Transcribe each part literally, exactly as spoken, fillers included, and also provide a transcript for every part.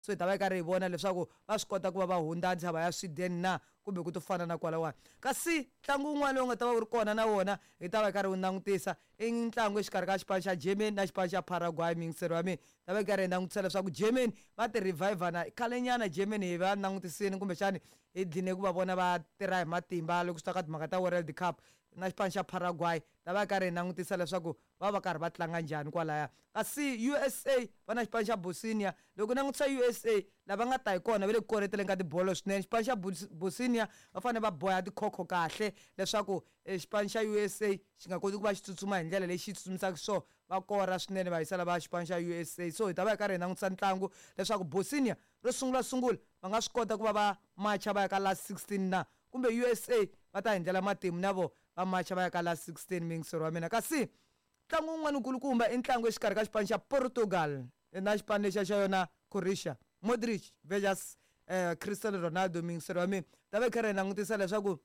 So hi ta va hi karhi hi vona leswaku va swi kota ku va va hundza ntshava ya Sweden na kumbe ku to fana na kwalawani. Kasi ntlangu wun'wana lowu nga ta va wu ri kona na wona hi ta va hi karhi wu langutisa i ntlangu exikarhi ka xipano xa Germany na xipano xa Paraguay. Miyingiseri wa mina, ta va hi karhi hi langutisa leswaku Germany va ti reviver na khalenyana. Germany hi va langutisini, kumbexani hi dline ku va vona va tirha hi matimba loko swi ta ka timhaka ta World Cup. Na xipano xa Paraguay ta va hi karhi hi langutisa leswaku va va karhi va tlanga njhani kwalaya. Kasi U S A va na xipano xa Bosnia. Loko langutisa U S A, lava nga ta hi kona va le ku koreteleni ka tibolo swinene. Xipano xa Bosnia va fanele va boha tikhokho kahle leswaku xipano xa U S A xi nga koti ku va xi tsutsuma hi ndlela leyi xi tsutsumisaka swona, va kora swinene va yisa lava xipano xa U S A. So hi ta va hi karhi hi langutisa ntlangu leswaku Bosnia ro sungula sungula va nga swi kota ku va va macha va ya ka last sixteen na kumbe U S A va ta hi ndlela matimu na vo va macha va ya ka last sixteen, miyingiseri wa mina. Kasi ntlangu wun'wana wukulukumba i ntlangu exikarhi ka xipano xa Portugal na xipano lexiya xa yona Croatia, Modric versus eh, Cristiano Ronaldo. Miyingiseri wa mina, ta va hi karhi hi langutisa leswaku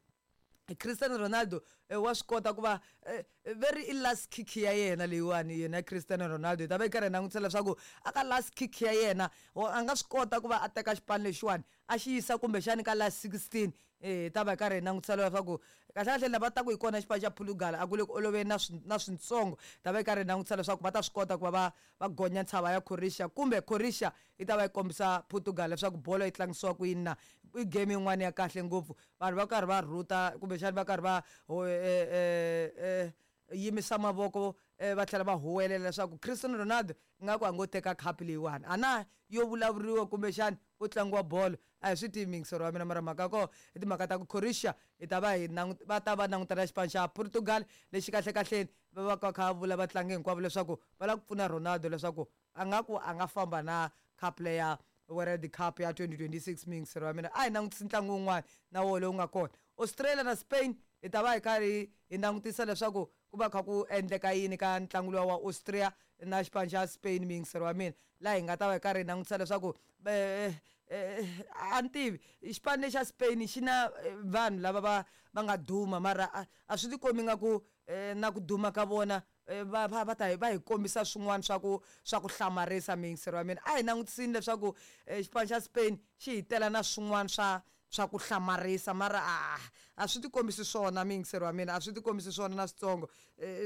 Cristiano Ronaldo eh, wa swi kota ku va eh, very i last kick ya yena leyiwani. Yena Cristiano Ronaldo hi ta va hi karhi hi langutisa leswaku aka last kick ya yena a nga swi kota ku va a teka xipano lexiwani a xi yisa kumbexani ka last sixteen. Eh ta va hi karhi hi langutisa leswaku kahlekahle lava taku hi kona xipano xa Portugal a ku le ku oloveni na na swintsongo. Ta va hi karhi hi langutisa leswaku va ta swi kota ku va va va gonya ntshava ya Croatia kumbe Croatia yi ta va yi kombisa Portugal leswaku bolo yi tlangisiwa ku yini na. I game yin'wana ya kahle ngopfu, vanhu va karhi va rhuta kumbexani va karhi va eh eh yimisa mavoko, va tlhela va huwelela leswaku Cristiano Ronaldo ingaku a ngo teka khapu leyiwani. A na yo vulavuriwa kumbexani ku tlangiwa bolo, a hi swi tivi, miyingiseri wa mina. Mara mhaka koho i timhaka ta ku Croatia hi ta va hi va ta va langutana xipano xa Portugal lexi kahle kahleni va va ka kha vula vatlangi hinkwavo leswaku va lava ku pfuna Ronaldo leswaku a nga ku a nga famba na cup leya World Cup ya twenty twenty-six. Miyingiseri wa mina, a hi langutisi ntlangu wun'wana na woho lowu nga kona, Australia na Spain. Hi ta va hi karhi hi langutisa leswaku ku va kha ku endleka yini ka ntlangu luwa wa Austria na xipano xa Spain. Miyingiseri wa mina, laha hi nga ta va hi karhi hi langutisa leswaku a ni tivi, xipano lexa Spain xi na vanhu lava va va nga duma, mara a a swi ti kombi nga ku na ku duma ka vona va va va ta va hi kombisa swin'wana swa ku swa ku hlamarisa. Miyingiseri wa mina, a hi langutisini leswaku xipano xa Spain xi hi tela na swin'wana swa swa ku hlamarisa, mara a a swi ti kombisi swona. Miyingiseri wa mina, a swi ti kombisi swona na switsongo.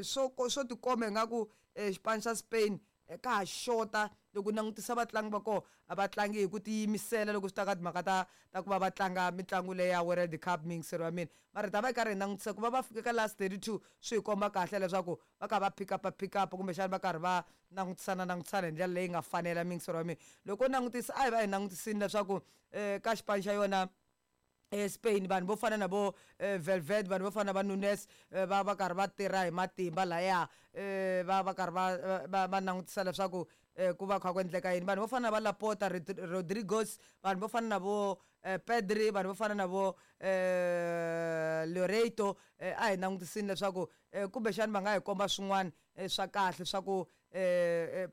Swo swo tikomba ingaku xipano xa Spain ka ha xota. Loko u langutisa vatlangi va kona, a va tlangi hi ku tiyimisela loko swi ta ka timhaka ta ta ku va va tlanga mitlangu leya World Cup, miyingiseri wa mina. Mara hi ta va hi karhi hi langutisa ku va va fika ka last thirty-two swi hi komba kahle leswaku va kha va pick up pick up kumbexana va karhi va langutisana langutisana hi ndlela leyi nga fanela. Miyingiseri wa mina, loko u langutisa, a hi va hi langutisini leswaku um ka xipano xa yona Spain vanhu vo fana na vo Valverde, vanhu vo fana na va Nunes va va karhi va tirha hi matimba laya, va va karhi va va va langutisa leswaku ku va kha ku endleka yini. Vanhu vo fana na va Laporta, Rodriguez, vanhu vo fana na vo Pedri, vanhu vo fana na vo Loreto, a hi langutisini leswaku kumbexani va nga hi komba swin'wana swa kahle swa ku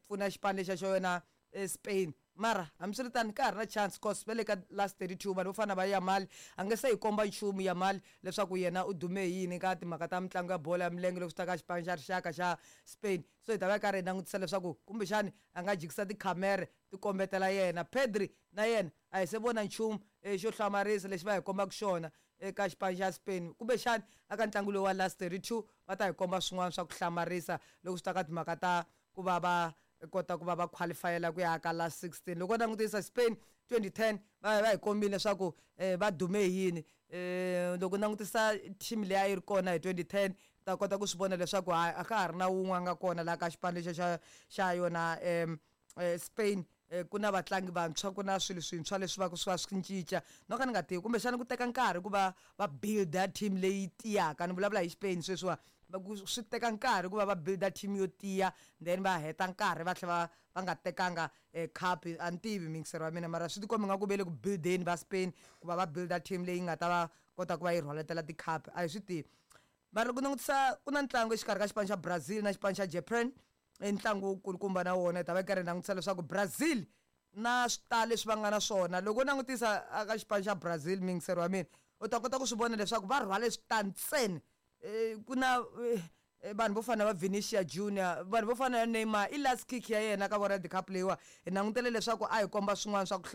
pfuna xipano lexiya xa yona Spain. Mara hambiswiritano ka ha ri na chance, cause va le ka last thirty-two. Vanhu vo fana na va Yamal, a nge se hi komba nchumu Yamal leswaku yena u dume hi yini ka timhaka ta mitlangu ya bolo ya milenge loko swi ta ka xipano xa rixaka xa Spain. So hi ta va hi karhi hi langutisa leswaku kumbexani a nga jikisa tikhamere ti kombetela yena. Pedri na yena a hi se vona nchumu xo hlamarisa lexi va hi kombaka xona eka xipano xa Spain. Kumbexani aka ntlangu lowu wa last thirty-two va ta hi komba swin'wana swa ku hlamarisa loko swi ta ka timhaka ta ku va va kota ku va va qualifyela ku ya ka last sixteen. Loko u langutisa Spain twenty ten, va va hi kombile leswaku va dume hi yini. um loko u langutisa team leyi a yi ri kona hi twenty ten, ta kota ku swi vona leswaku hayi, a ka ha ri na wun'we a nga kona laha ka xipano lexi xa xa yona um Spain. Ku na vatlangi vantshwa, ku na swilo swintshwa leswi va swi va swi cinca. No ka ni nga tivi, kumbexana ku teka nkarhi ku va va builda team leyi tiyaka. Ni vulavula hi Spain sweswiwa, swi teka nkarhi ku va va builda team yo tiya, then va heta nkarhi va tlhela va va nga tekanga cup. A ni tivi, miyingiseri wa mina, mara swi tikomba nga ku ve le ku buildeni va Spain ku va va builda team leyi nga ta va kota ku va yi rhwaletela ti-cup, a hi swi tivi. Mara loko langutisa, ku na ntlangu exikarhi ka xipano xa Brazil na xipano xa Japan, i ntlangu wukulukumba na wona. Hi ta va hi karhi hi langutisa leswaku Brazil na switalo leswi va nga na swona. Loko u langutisa aka xipano xa Brazil, miyingiseri wa mina, u ta kota ku swi vona leswaku va rhwale switani ntsena. Ku na eh, vanhu vo fana na va Vinicius Junior, vanhu vo fana na Neymar, i last kick ya yena ka World Cup leyiwa. Hi langutele leswaku a hi komba swin'wana swa ku